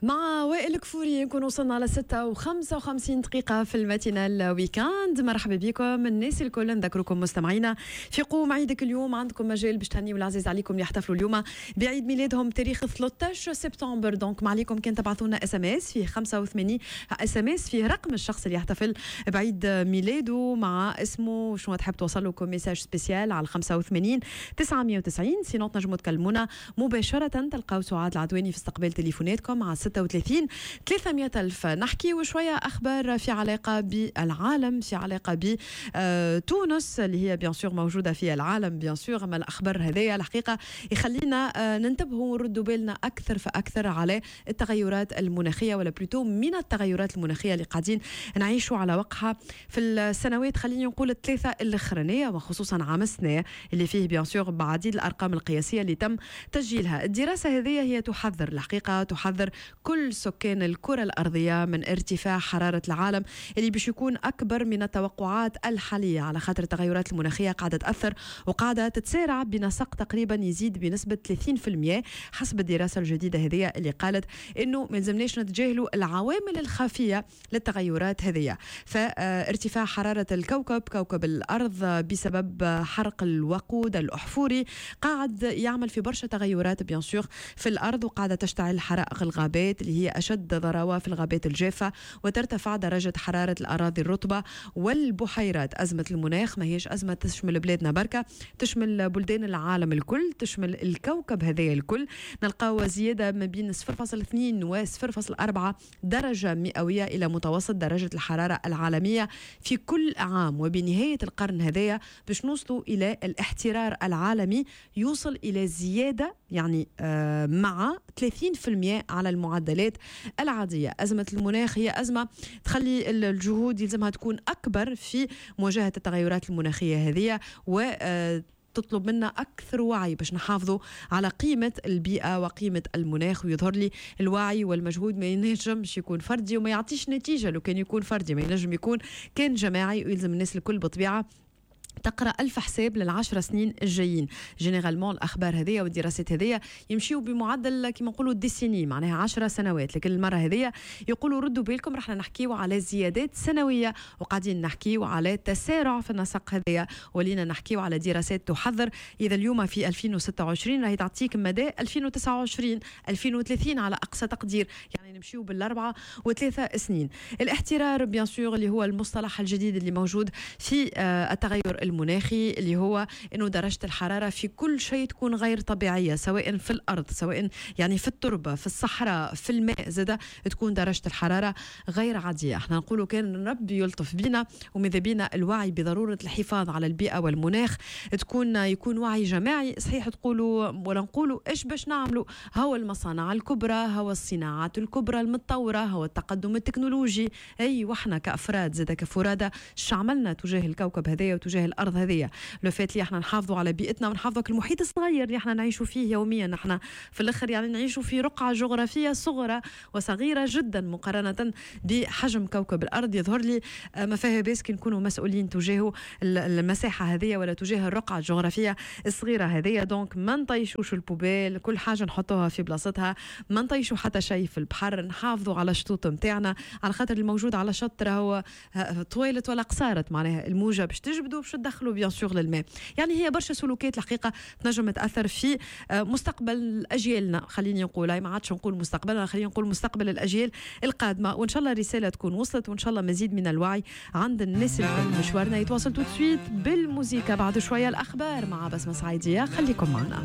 مع وائل كفوري نكون وصلنا على 6:55 في ال matinale week-end. مرحبا بكم الناس الكل، نذكركم مستمعينا في قوم عيدك اليوم عندكم مجال باش تهنيوا العزيز عليكم اللي يحتفلوا اليوم بعيد ميلادهم تاريخ 13 سبتمبر. donc ما عليكم كان تبعثوا لنا SMS فيه 85 SMS فيه رقم الشخص اللي يحتفل بعيد ميلاده مع اسمه شنو تحب توصل له comme message spécial على 85 990. sinon تنجموا تكلمونا مباشرة، تلقاو سعاد العدواني في استقبال تليفوناتكم على 36 300 ألف. نحكي وشوية أخبار في علاقة بالعالم، في علاقة بتونس اللي هي bien sûr موجودة في العالم bien sûr. أما الأخبار هذيا الحقيقة يخلينا ننتبهوا ونردوا بالنا أكثر فأكثر على التغيرات المناخية، ولا plutôt من التغيرات المناخية اللي قاعدين نعيشوا على وقعها في السنوات، خليني نقول الثلاثة الأخرانية، وخصوصا عام السنة اللي فيه bien sûr بعديد الأرقام القياسية اللي تم تسجيلها. الدراسة هذه هي تحذر، الحقيقة تحذر كل سكان الكرة الأرضية من ارتفاع حرارة العالم اللي باش يكون أكبر من التوقعات الحالية، على خاطر التغيرات المناخية قاعدة تأثر وقاعدة تتسارع بنسق تقريبا يزيد بنسبة 30% حسب الدراسة الجديدة هذه اللي قالت إنه ما لزمناش نتجاهلوا العوامل الخفية للتغيرات هذه. فارتفاع حرارة الكوكب، كوكب الأرض، بسبب حرق الوقود الأحفوري قاعد يعمل في برشا تغيرات bien sûr في الأرض، وقاعدة تشتعل حرائق الغابات اللي هي أشد ضراوة في الغابات الجافة، وترتفع درجة حرارة الأراضي الرطبة والبحيرات. أزمة المناخ ما هيش أزمة تشمل بلادنا بركة، تشمل بلدان العالم الكل، تشمل الكوكب هذايا الكل. نلقاو زيادة ما بين 0.2 و 0.4 درجة مئوية إلى متوسط درجة الحرارة العالمية في كل عام، وبنهاية القرن هذايا باش نوصلوا إلى الاحترار العالمي يوصل إلى زيادة يعني مع 30% على المعدلات العادية. أزمة المناخ هي أزمة تخلي الجهود يلزمها تكون أكبر في مواجهة التغيرات المناخية هذه، و تطلب منا أكثر وعي باش نحافظوا على قيمة البيئة وقيمة المناخ. ويظهر لي الوعي والمجهود ما ينجمش يكون فردي وما يعطيش نتيجة لو كان يكون فردي، ما ينجم يكون كان جماعي، ويلزم الناس الكل بطبيعة تقرا ألف حساب لل10 سنين الجايين. généralement الأخبار هذيا والدراسات هذيا يمشيو بمعدل كما نقولوا décennie، معناها 10 سنوات، لكن المرة هذيا يقولوا ردوا بالكم، رحنا نحكيو على زيادات سنوية وقاعدين نحكيو على تسارع في النسق هذيا، ولينا نحكيو على دراسات تحذر. إذا اليوم في 2026 راهي تعطيك مدى 2029 2030 على أقصى تقدير، يعني نمشيو بال4 و3 سنين. الاحترار bien sûr اللي هو المصطلح الجديد اللي موجود في التغير المناخي، اللي هو انه درجه الحرارة في كل شيء تكون غير طبيعيه، سواء في الارض، سواء يعني في التربه، في الصحراء، في الماء زاده تكون درجه الحرارة غير عاديه. احنا نقولوا كان ربي يلطف بينا، وماذا بينا الوعي بضرورة الحفاظ على البيئة والمناخ يكون وعي جماعي. صحيح تقولوا ولا نقولوا ايش باش نعملوا، هو المصانع الكبرى، هو الصناعات الكبرى المتطوره، هو التقدم التكنولوجي، اي واحنا كافراد زاد كفرادة عملنا تجاه الكوكب هذايا وتجاه الارض هذيا؟ le fait اللي احنا نحافظوا على بيئتنا ونحافظوا على المحيط الصغير اللي احنا نعيشوا فيه يوميا. احنا في الاخر يعني نعيشوا في رقعه جغرافية صغرى وصغيره جدا مقارنة بحجم كوكب الارض. يظهر لي ما فيها باس كي نكونوا مسؤولين تجاه المساحة هذه ولا تجاه الرقعة الجغرافية الصغيرة هذه. donc ما نطيشوش ال poubelle، كل حاجة نحطوها في بلاصتها، ما نطيشوا حتى شيء في البحر، نحافظوا على الشطوط نتاعنا، على خاطر الموجود على شط راهو طويلت ولا قصارت، معناها الموجه باش تجبدوا باش تدخلوا bien sûr للماء. يعني هي برشا سلوكات الحقيقة تنجم تاثر في مستقبل اجيالنا، خليني نقول ما عادش نقول مستقبلنا، خليني نقول مستقبل الاجيال القادمه. وان شاء الله الرسالة تكون وصلت، وان شاء الله مزيد من الوعي عند الناس الكل. مشوارنا يتواصل tout de suite بالموسيقى، بعد شوية الاخبار مع بسمه سعيديه، خليكم معنا.